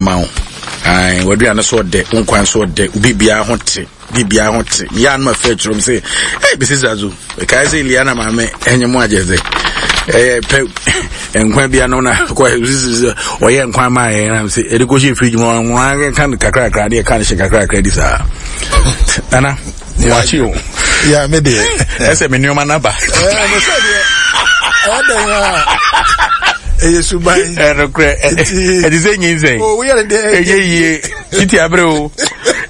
ma wo. Ae, w'aduane so ɔdɛ, wo nkwan so ɔdɛ, wo biribiara ho te, biribiara ho te. Meyɛ ano afɛ kyerɛ m sɛ, hey, bɛsi zazo, ɛkae sɛ Eliana maame ɛnyɛ mu agyɛ sɛ, ɛyɛ pɛ nkwan bi ano na kɔ ɔyɛ nkwan maa yɛn na sɛ ɛde kɔhyɛ fridge mu ɔnwa ka no kakrakra ne ɛka no hyɛ kakrakra di saa. Nana, wakye o. Ya me deɛ. Ɛsɛ me nneɛma no aba. Ɛɛ me sɛ deɛ ɛdɛn a ɛyɛ suban. Ɛnokorɛ ɛte sɛ nyinsɛn. O woyɛ ne deɛ ɛyɛ yie titi abere o.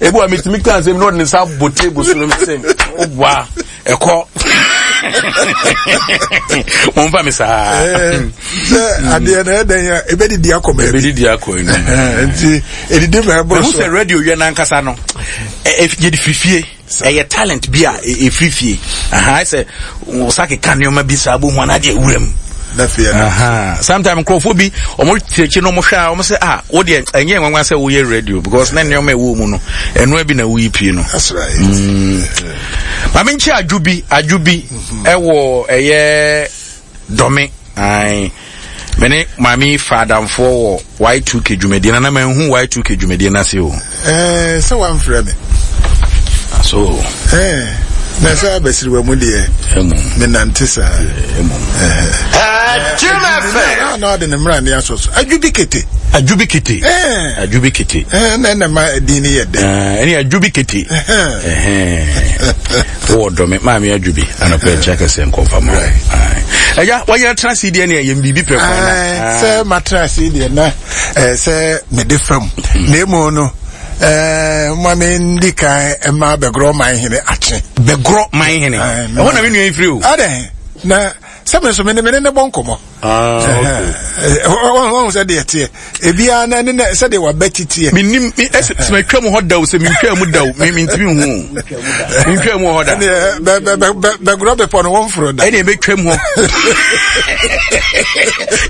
Ebi wa metumi ka nsɛm na ɔde ne nsa bɔ table so no sɛ ɔboa ɛkɔ. Wɔn fa mi saa. Sɛ adeɛ na ɛdɛn a ebɛdidi akɔ baabi. Ebɛdidi akɔ ɛnu. Nti edidi ma ɛbɔ so. Ɛhu sɛ radio yɛ n'ankasa no yɛde fifie. Ɛyɛ talent bi a ɛfiri fie. Aha, sɛ wo sa keka nneɛma bi saa bohu anaa deɛ wura mu. Sometimes nkurɔfoɔ bi wɔn te akyi no wɔn hwɛ a wɔn sɛ ah wo deɛ ɛnyɛ nwanwa sɛ woyɛ radio because na nneɛma ɛwɔ mu no ɛnoa bi na woyi pie no. That's right. Mm. Maame nkyɛn adwo bi adwo bi ɛwɔ ɛyɛ. Dɔme, ae. Me ne maame yi fa adamfoɔ wɔ Y2K dwumadie na na manhu Y2K dwumadie no ase o. Ɛɛ sɛ wamfrɛ me. So. Ɛɛ na sɛ abasiriwa mu deɛ. Ɛmu. Menante saa. Ɛmu. Ɛɛ. Jim FM. Na ɔde ne mmara ne asɔ so. Adwo bi kete. Adwo bi kete. Ɛɛ. Adwo bi kete. Ɛɛ na ɛna ma din ne yɛ dɛ. Ɛɛ ɛne adwo bi kete. Ɛhɛn. Wowɔ dɔ me maame adwo bi anɔpɛ nkyɛ kɛseɛ nkɔmfa ma agya wayɛ atena ase deɛ ne ɛyɛ biribi pɛ kwan na sɛ matena ase deɛ na sɛ mede fam na emu no ma mendi kan ma bɛgorɔ man hene akye bɛgorɔ man hene ɛhɔ na me nua yi firi o adɛn na sɛ me nso me ne ne bɔ nkɔmmɔ wɔn sɛ deɛ teɛ ebiara na ne sɛ deɛ waba ti teɛ. menim ɛsɛ sɛ matwa mu hɔ da o sɛ mentwa mu da o mentumi nhu mentwa mu hɔ da. Bɛgorɔ bepɔ no wɔmforo da. Ɛne ɛbɛtwa mu hɔ.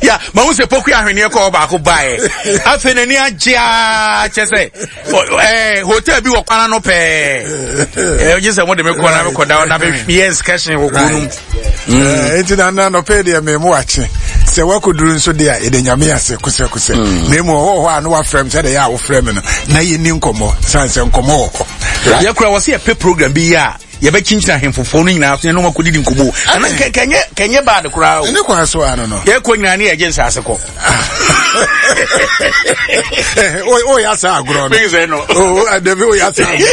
Ya mahu sɛ poku ahweneɛ kɔ hɔ baako baeɛ afei n'ani agye aa kyɛ sɛ ɛɛ hotel bi wɔ kwan ano pɛɛ ɛɛ gye sɛ mo de me kɔ na me kɔ da na me yɛ excursion wɔ kuro no mu. Nti na na nɔpɛ deɛ me mu akye sɛ wakɔduru nso deɛ a yɛde nyame ase kosɛkosɛ na emu ɔwɔ hɔ a na wafrɛ m sɛdeɛ yɛ a wofrɛ me no na yɛni nkɔmmɔ sane sɛ nkɔmmɔ wɔ hɔ. Yɛkura wɔ sɛ yɛpɛ program bi yɛ a yɛbɛkyinkyini ahemfofoɔ no nyinaa so yɛne wɔn akɔdidi nkɔmmɔ ɛno kɛnyɛ kɛnyɛ baade koraa o. Ɛne kwan so ano no. Yɛkɔ nyinaa ne yɛgye nsaase kɔ. O yà sá agorɔ no. O dabi o yà sá agorɔ no.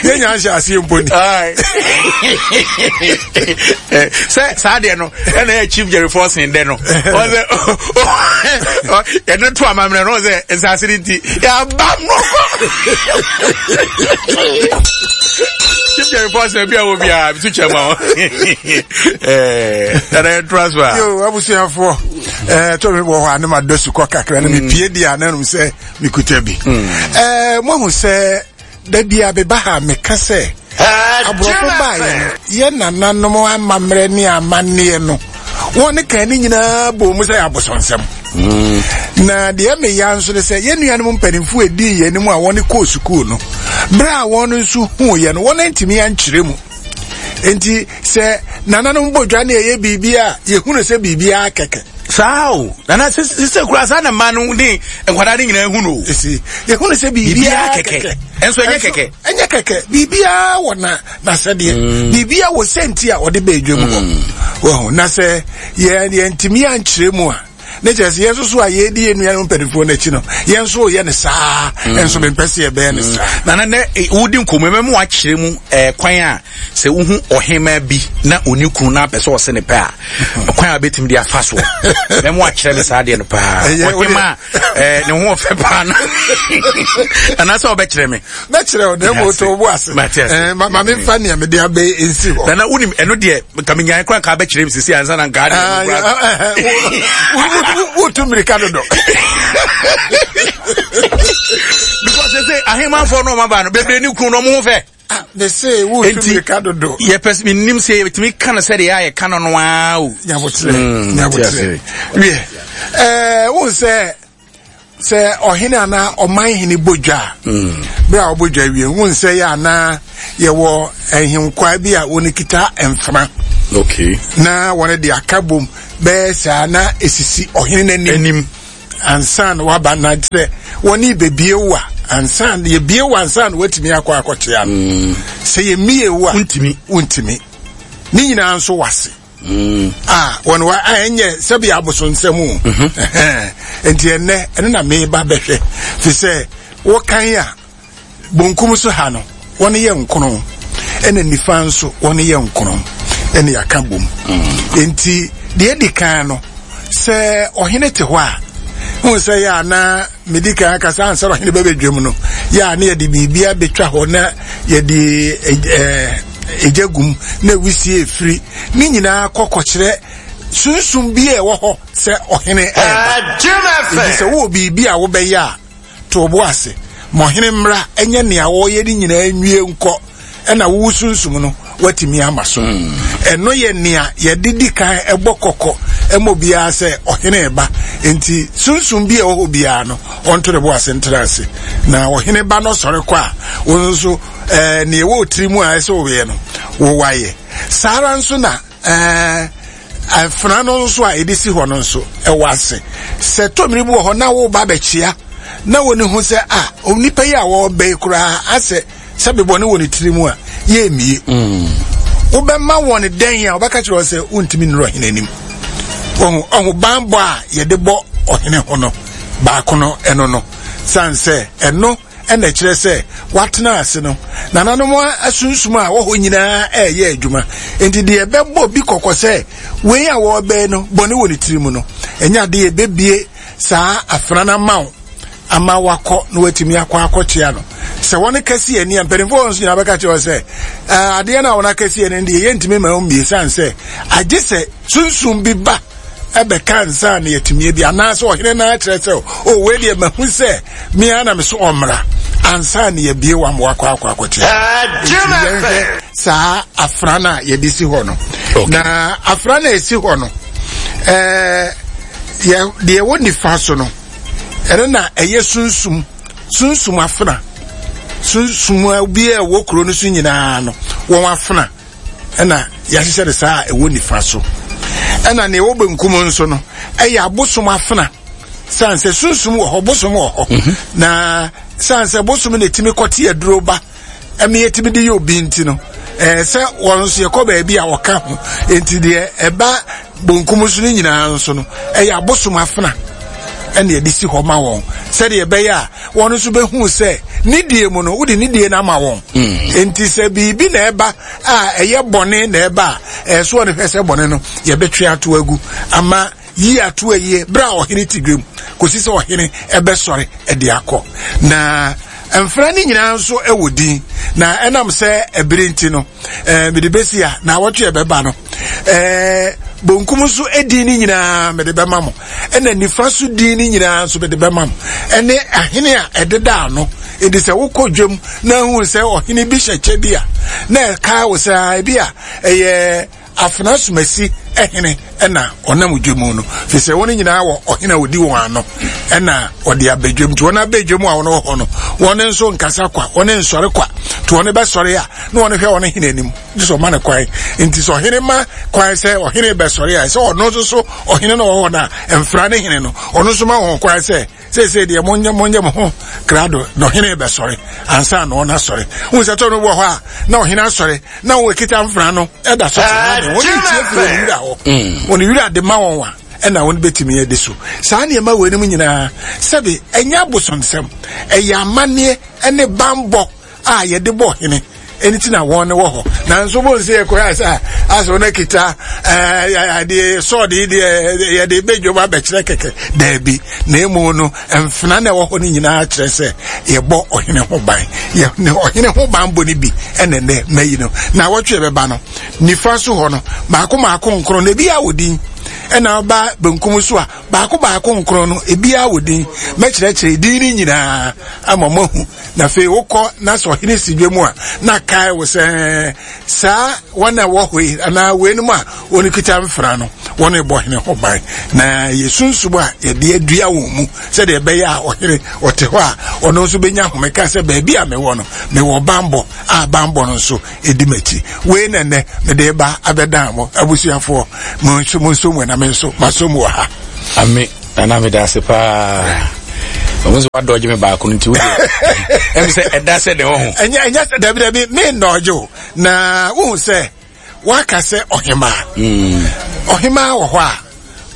Yɛn nyɛ ahyɛ aseɛ mpo ni. Sɛ saa deɛ no ɛna yɛ Chief Jerry Forson dɛ no ɔsɛ yɛde to amammerɛ no ɔsɛ nsaase no nti yɛaba no Chief Jerry Forson bi a wɔ biara bi to kyɛ ma wo ɛna yɛntoa so a. Yo abusuafoɔ ɛɛ tɔ mi wɔ hɔ a ne ma dɔ sukɔ kakra na mi mm. pie di a na sɛ mi kuta bi. Mm. Ɛɛ mo ahu sɛ dabi a beba ha meka sɛ aborɔfo baayɛ no yɛ nananom amammerɛ ne amanneɛ no wɔn ne kan ne nyinaa bɔ mu sɛ yɛ abosonsɛm. Mm. Na deɛ meya nso ne sɛ yɛn nuanom mpanimfoɔ edii yɛn anim a wɔn kɔɔ sukuu no bere a wɔn nso huu yɛn no wɔn antumi ankyerɛ mu. Nti sɛ nananom bɔ dwa ne ɛyɛ biribi a yɛhunu sɛ biribiara kɛkɛ. Saa o nana sise kura saa na mmaa no ne nkwadaa no nyinaa hu no o. Esi yɛhunu sɛ biribiara kɛkɛ. Ɛnso ɛnyɛ kɛkɛ. Ɛnyɛ kɛkɛ biribiara wɔ na n'asɛdeɛ mm. biribiara wɔ sɛnti a ɔde bɛɛ dwa mu hɔ. Mm. Wɔho na sɛ yɛn yɛntumi ankyerɛ mu a ne kyerɛ sɛ yɛn nso so a yɛredi yɛn nuanom mpanimfoɔ no akyi no yɛn nso yɛ no saa mm. nso mempɛ sɛ yɛbɛyɛ no saa nana nɛ eh, wodi nkɔmmɔ mɛma wakyerɛ mu eh, kwan a sɛ wohu ɔhema bi na ɔni kunu na apɛ sɛ ɔse ne pɛ a mm-hmm. kwan a wobɛtumi de afa soɔ mɛma wakyerɛ me saa deɛ no paa ɔhema a eh, ne ho ɔfɛ paa no anaasɛ wobɛkyerɛ me mɛkyerɛ wo na mmom to wo bo ase eh, ma memfa nea mede abɛ nsi hɔ nana wonim ɛno deɛ nka menyae kora nka bɛkyerɛ m sisi ansa na nka ah, wotu mmirika dodo because sɛ ahemanfoɔ no ɔmaba no bebree ne kunu no ɔmo ho fɛ ah, mese wotu mmirika dodo yɛpɛ sɛ menim sɛ yɛtumi ka no sɛdeɛ a yɛka no no ara o nyaboterɛ hmm, nyaboterɛ wiɛ eh, wohu sɛ Sɛ ɔhene anaa ɔman hene bɔ dwa a, mm. bere a ɔbɔ dwa wie, hu nsɛ yɛ anaa yɛwɔ nhenkwaa bi a wɔn kita mfena. Okay. Na wɔn de aka bom bɛyɛ saa na esisi ɔhene n'anim. Anim. Ansa na waba na sɛ wɔne bebie wo a, ansa na yɛbie wo ansa na watumi akɔ akɔkyea no. Sɛ yɛmmie wo a, wontumi. Wontumi. Ne nyinaa nso wase. A wɔn wa a ɛnyɛ sɛbi abosonsɛm o. Nti ɛnɛ ɛno na meba bɛhwɛ fi sɛ wɔkan a bonkum so ha no wɔn yɛ nkono ɛna nifa nso wɔn yɛ nkono ɛna yɛaka bom. Nti deɛ edi kan no sɛ ɔhene te hɔ a n sɛ yɛ ana medi kan akasa ansa ɔhene bɛbɛdwam no yɛ a na yɛde biribi abɛtwa hɔ na yɛde ɛgya gum na wisie efiri ne nyinaa kɔkɔkyerɛ sunsum bi a ɛwɔ hɔ sɛ ɔhene ɛɛba. Enti sɛ wowɔ biribi a wobɛyɛ a to wo bo ase ma ɔhene mmra ɛnyɛ nea wɔyɛ ne nyinaa nwie nkɔ ɛna wo sunsum no watumi ama so. Ɛno yɛ nea yɛde di kan ɛbɔ kɔkɔ ɛma obiara sɛ ɔhene ba. Nti sunsum bi a ɛwɔ hɔ biara no ɔnto ne bo ase ntra ase na ɔhene ba no sɔre kɔ a wɔn nso ɛɛ nea ɛwɔ tiri mu a ɛsɛ wɔyɛ no wɔwayɛ. Saa ara nso na ɛɛ afena no nso a yɛde si hɔ no nso ɛwɔ ase. Sɛ tɔmmiri bi wɔ hɔ na wɔreba abɛkyea na wɔn ho sɛ a onipa yi a wɔreba yi koraa asɛ sɛ bebɔne wɔ ne tiri mu a yɛmmie. Wobɛma wɔn dɛn a wɔbɛka kyerɛ wɔn sɛ wontumi nnuru ɔhene anim. Ɔho ɔho banbɔ a yɛde bɔ ɔhene ho no baako no ɛno no san sɛ ɛno ɛna ɛkyerɛ sɛ watena ase no nananom asunsum a wɔhɔ nyinaa ɛreyɛ adwuma. Nti deɛ ɛbɛbɔ bi kɔkɔ sɛ wei a wɔrebɛn no bɔne wɔ ne tiri mu no ɛnyɛ adeɛ yɛbɛbie saa afena no ama wo ama wakɔ na watumi akɔ akɔkyea no. Sɛ wɔn kɛse ani a mpanimfoɔ wɔn nso nyinaa bɛka kyerɛ wɔn sɛ adeɛ no a wɔn akɛse ani deɛ yɛntumi ma wɔn mmie san sɛ agye sɛ sunsum bi ba ɛbɛka nsa na yɛtumi bi anaasɛ ɔhene no akyerɛ sɛ o wei deɛ mahu sɛ mea na me so ɔmmra ansa na yɛbie wa ma wakɔ akɔ akɔkyea. Nti yɛnhwɛ saa afra no a yɛde si hɔ no. Na afra no a ɛsi hɔ no ɛɛ yɛ deɛ ɛwɔ nifa so no ɛno na ɛyɛ sunsum sunsum afena sunsum bi a ɛwɔ kuro no so nyinaa no wɔn afena ɛna yɛahyehyɛ no saa a ɛwɔ nifa so. Ɛna nea ɛwɔ benkum nso no ɛyɛ abosom afena san sɛ sunsum wɔ hɔ bosom wɔ hɔ na san sɛ bosom na etimi kɔte aduro ba ɛmi yɛtumi de yɛ obi nti no ɛɛ sɛ wɔn nso yɛkɔ baabi a ɔka ho nti deɛ ɛba bonkum so no nyinaa nso no ɛyɛ abosom afena ɛna yɛde si hɔ ma wɔn sɛdeɛ ɛbɛyɛ a wɔn nso bɛhu sɛ ne die mu no wode ne die no ama wɔn. Nti sɛ biribi na ɛba a ɛyɛ bɔne na ɛba a ɛso wɔn hwɛ sɛ bɔne no yɛbɛtwe ato agu ama yi ato ayie berɛ a ɔhene te dwam kɔsi sɛ ɔhene ɛbɛsɔre ɛde akɔ. Na mfra no nyinaa nso ɛwɔ din na ɛnam sɛ ɛbere nti no mede bɛsi a na awɔtwe ɛbɛba no bonkum nso din no nyinaa mede bɛma mo ɛna nifa so din no nyinaa nso mede bɛma mo ɛne ahene a ɛdeda ano. Enti sɛ wokɔ dwam na ahu sɛ ɔhene bi hyɛ kyɛ bi a na ɛka wo sɛ ebi a ɛyɛ afena somasi ɛhene ɛna ɔnam dwam no fi sɛ wɔn nyinaa wɔ ɔhene a ɔdi wɔn ano ɛna ɔde abɛdwam. Nti wɔn abɛdwam a wɔn wɔ hɔ no wɔn nso nkasa kwa wɔn nsɔre kwa nti wɔn bɛsɔre a na wɔn hwɛ wɔn hene anim gye sɛ ɔma no kwan. Nti sɛ ɔhene ma kwan sɛ ɔhene bɛsɔre a sɛ ɔno nso so ɔhene no wɔ hɔ no a mfra ne hene no ɔno nso ma wɔn kwan sɛ seesei deɛ monyɛ monyɛ mo ho krado na ɔhene bɛsɔre ansa na ɔno asɔre. Wohu sɛ tɔ no wɔ hɔ a na ɔhene asɔre na wɔn ekita mfra no ɛda so te hɔ wɔn tie firi wɔn wura hɔ wɔn wura de ma wɔn a ɛna wɔn bɛtumi adi so. Saa nneɛma wɔ anim nyinaa sɛbi ɛnyɛ abosonsɛm ɛyɛ amanneɛ ɛne bambɔ a yɛde bɔ ɔhene ɛne ti na wɔn wɔ hɔ. Nanso wɔn nse yɛ koraa sɛ asɛ wɔn akita ɛɛ adeɛ sɔɔde deɛ yɛde bɛdwom abɛkyerɛ kɛkɛ daabi na emu no mfena na ɛwɔ hɔ no nyinaa kyerɛ sɛ yɛbɔ ɔhene ho ban yɛ ne ɔhene ho ban bɔ ne bi ɛna ɛnɛ mɛyi no na awɔtwe yɛbɛba no nifa so hɔ no baako baako nkron na ebi awɔ din ɛna ɔba benkum so a baako baako nkron no ebi awɔ din mɛkyerɛkyerɛ din no nyinaa ama mo ahu. Na afei wokɔ na sɛ ɔhene si dwa mu a na kae wo sɛ saa wɔn a ɛwɔ hɔ yi anaa weinom a wɔn kita mfra no wɔn bɔ ɔhene ho ban na yɛsunsum a yɛde adua wɔn mu sɛdeɛ ɛbɛyɛ a ɔhene ɔte hɔ a ɔno nso bɛnya ahomeka sɛ baabi a mewɔ no mewɔ bambɔ a bambɔ no nso ɛdi m'akyi. Wei na nnɛ mede ba abɛdan mo abusuafoɔ mo nso mo nso mu na me nso maso mu wɔ ha. Ame. Nana meda ase paa. Ɔmo nso wadɔgye me baako no nti wodeɛ ɛm sɛ ɛda sɛ deɛ ɔho. Ɛnyɛ ɛnyɛ sɛ dabi dabi me nnɔgye o na wohu sɛ waka sɛ ɔhemaa. Mm. Ɔhemaa wɔ hɔ a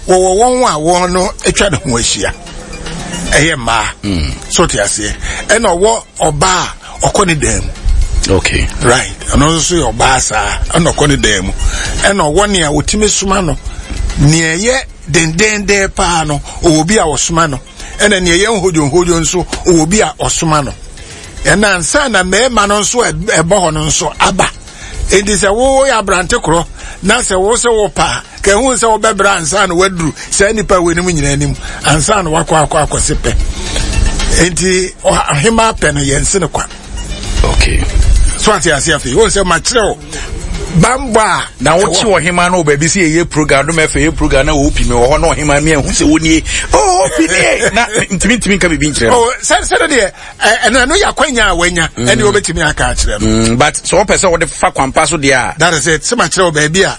wɔwɔ wɔn a wɔn no atwa ne ho ahyia ɛyɛ mmaa. Mm. So te aseɛ ɛna ɔwɔ ɔbaa ɔkɔ ne dan mu. Okay. Right. Ɛno nso so yɛ ɔbaa saa ɛna ɔkɔ ne dan mu ɛna ɔwɔ nea ɔtumi soma no nea ɛyɛ dendenden paa no ɔwɔ bi a ɔsoma no ɛna nea ɛyɛ nhodwonhodwo nso ɔwɔ bi a ɔsoma no ɛna ansa na mmarima no nso ɛbɔ hɔ no nso aba enti sɛ woyɛ aberante korɔ na sɛ wo sɛ wo paa ka ehu sɛ wobɛbrɛ ansa na waduru saa nipa wɔ anim nyinaa anim ansa na wakɔ akɔ akɔse pɛ enti ɔhema pɛ no yɛn se no kwa Okay. So ate ase afei. Wɔn sɛ makyerɛ wo bambɔ a. Na wote ɔhema no baabi sɛ yɛyɛ program dom ɛfɛ yɛ program na wɔpi me wɔ hɔ na ɔhema mi ahu sɛ wɔnie oh ɔpi nie na ntumi ntumi nka biribi nkyerɛ no. Oh sɛ sɛ deɛ ɛno ɛno yɛ akwanya a wanya mm. ɛne wɔbɛtumi aka akyerɛ no. Mm, but sɛ wɔpɛ sɛ wɔde fa kwampa so deɛ a. That is it sɛ makyerɛ wo baabi a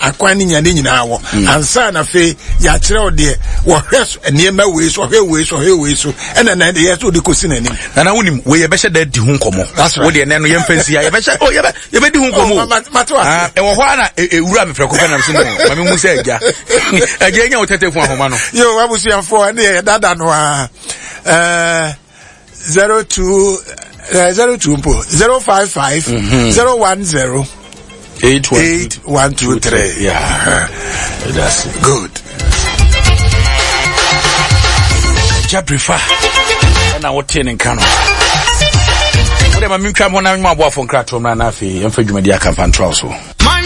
akwan ne nya ne nyinaa wɔ mm. ansa na afei yɛakyerɛ wo deɛ wɔhwɛ nneɛma wei so ɔhwɛ wei so ɔhwɛ wei so ɛna na yɛ sɛ wode kɔsi n'anim nana wonim wei yɛbɛhyɛ da di ho nkɔmmɔ wo deɛ nɛ no yɛmfa nsi a yɛbɛhyɛ oh, yɛbɛ yɛbɛdi ho nkɔmmɔ oh, ah, ɛwɔ hɔ a na ɛwura me prɛko pɛ nam so no ma mehu sɛ agya agya nya wo tɛtɛ fu ahoma no yo abusuafoɔ ɛne yɛ dada no a eh, 02 02 mpo 055 010 8123. Yeah. That's it. Good. Jabrifa. ɛna wotee ne nka no wode ma mentwa mɔ na nwoma aboafo nkratoɔ mmra na afei yɛmfa dwumadi akamfa ntoa so.